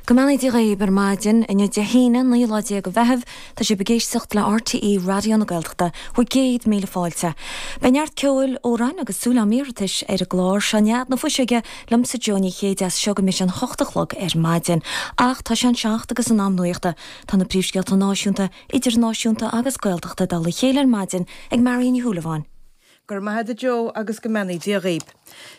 Go mbeannaí Dia dhaoibh ar maidin, inniu Dé hAoine, 19 lá de Mheitheamh, tá sibh ag éisteacht le RTÉ Raidió na Gaeltachta, bhur gcéad míle fáilte. Beidh neart ceoil, amhráin agus súil am iarratais ar an gclár seo Nead na Fuiseoige liomsa Joe Ní Chéide as seo go mbeidh sé an hocht a chlog ar maidin. Ach tá sé an seacht agus in am nuachta. Tá na príomhscéalta náisiúnta, idirnáisiúnta agus Gaeltachta i dtoll a chéile ar maidin ag Marion Ní Shúilleabháin. Go raibh maith agat a Joe agus go mbeannaí Dia dhaoib.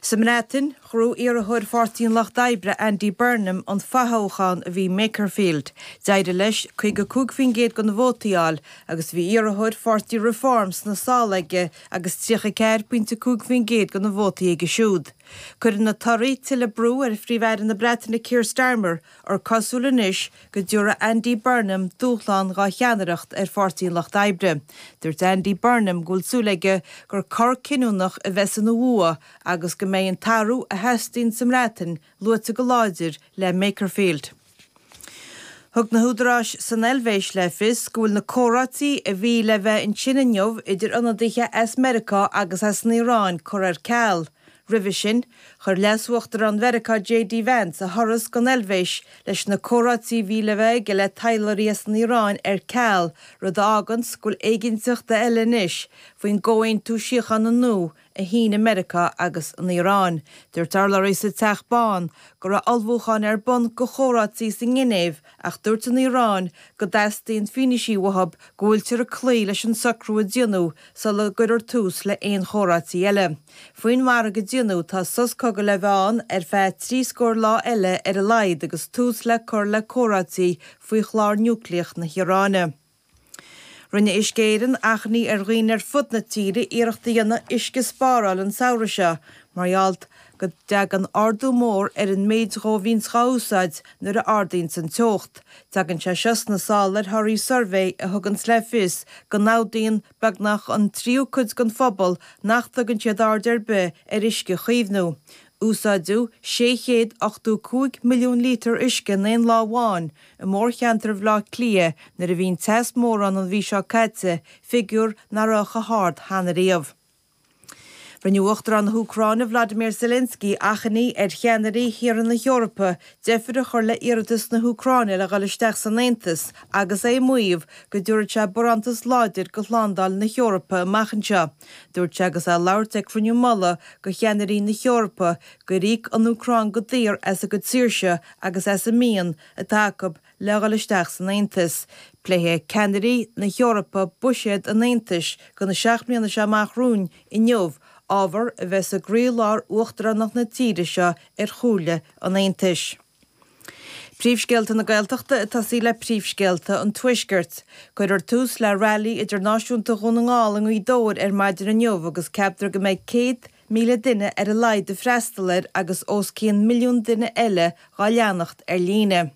Sa mBreatain, ghnóthaigh iarrthóir Pháirtí an Lucht Oibre Andy Burnham an fothoghchán a bhí i Makerfield. D'éirigh leis 55% de na vótaí a fháil agus bhí iarrthóir Pháirtí Reform sna sála aige agus 34.5% de na vótaí aige siúd. Cuireann na torthaí tuilleadh brú ar Phríomh-Aire na Breataine Keir Starmer gur cosúil anois go dtabharfaidh Andy Burnham dúshlán dhá cheannaireacht ar Pháirtí an Lucht Oibre. Dúirt Andy Burnham go bhfuil súil aige gur cor cinniúnach a bheas ina bhua agus go mbeidh an t-athrú a theastaíonn sa mBreatain luaite go láidir le Makerfield. Thug na húdaráis san Eilvéis le fios go bhfuil na comhráití a bhí le bheith ansin inniu idir ionadaithe as Meiriceá agus as an Iaráin curtha ar ceal. Roimhe sin, chuir Leas-Uachtarán Mheiriceá JD Vance a thuras gon Eilvéis leis na comhráití a bhí le bheith aige le taidhleoirí as an Iaráin ar ceal, rud a fháganns go bhfuil éiginnteacht eile anois faoin gcomhaontú síochána nua a shínigh Meiriceá agus an Iaráin. Dúirt urlabhraí sa Teach Bán go raibh ullmhúcháin ar bun go chomhráití sa nGinéiv ach dúirt an Iaráin go dteastaíonn fianaise uathub go bhfuiltear ag cloí leis an socrú a déanadh sula gcuirfear tús le haon chomhráití eile. Faoin margadh a déanadh, tá sos cogaidh le bheith ann ar feadh trí scór lá eile ar a laghad agus tús le cur le comhráití faoi chlár núicléach na hIaráine. Rinne Uisce Éireann achainí ar dhaoine ar fud na tíre iarracht a dhéanamh uisce a spáráil an samhradh seo mar gheall go dtagann ardú mór ar an méid dhó a bhíonns dhá úsáid nuair a ardaíonns an teocht. Tagann sé seo sna sála ar thorthaí suirbhé a thuganns le fios go n-admhaíonn beagnach an tríú cuid den phobal nach dtugann siad aird ar bith ar uisce a chaomhnú. Úsáideadh 685 milliún lítear uisce in aon lá amháin i mórcheantar Bhaile Átha Cliath nuair a bhí an teas mór ann an mhí seo caite, figiúr nach raibh chomh hard cheana riamh. Rinne Uachtarán na hÚcráine Vladimir Zelensky achainí ar cheannairí thíortha na hEorpa deifir a chur le iarratas na hÚcráine le dhul isteach san Aontas agus é ag maíomh go dtabharfadh sé barántas láidir go shlándáil na hEorpa amach anseo. Dúirt sé agus é ag labhairt ag cruinniú mullaigh go cheannairí na hEorpa gur íoc an Úcráin go daor as a gcuid saoirse agus as an mian atá acu le dhul isteach san Aontas. Pléifidh ceannairí na hEorpa buiséad an Aontais do na seacht mbliana seo amach romhainn inniu, ábhar a bheas i gcroílár uachtaránacht na tíre seo ar Chomhairle an Aontais. Príomhscéalta na Gaeltachta ag tosaí le príomhscéalta an Tuaiscirt. Cuirfear tús le Railí Idirnáisiúnta Dhún na nGall i nGaoth Dobhair ar maidin inniu agus ceaptar go mbeidh 100,000 duine ar a laghad ag freastal air agus os cionn milliún duine eile dhá leanacht ar líne.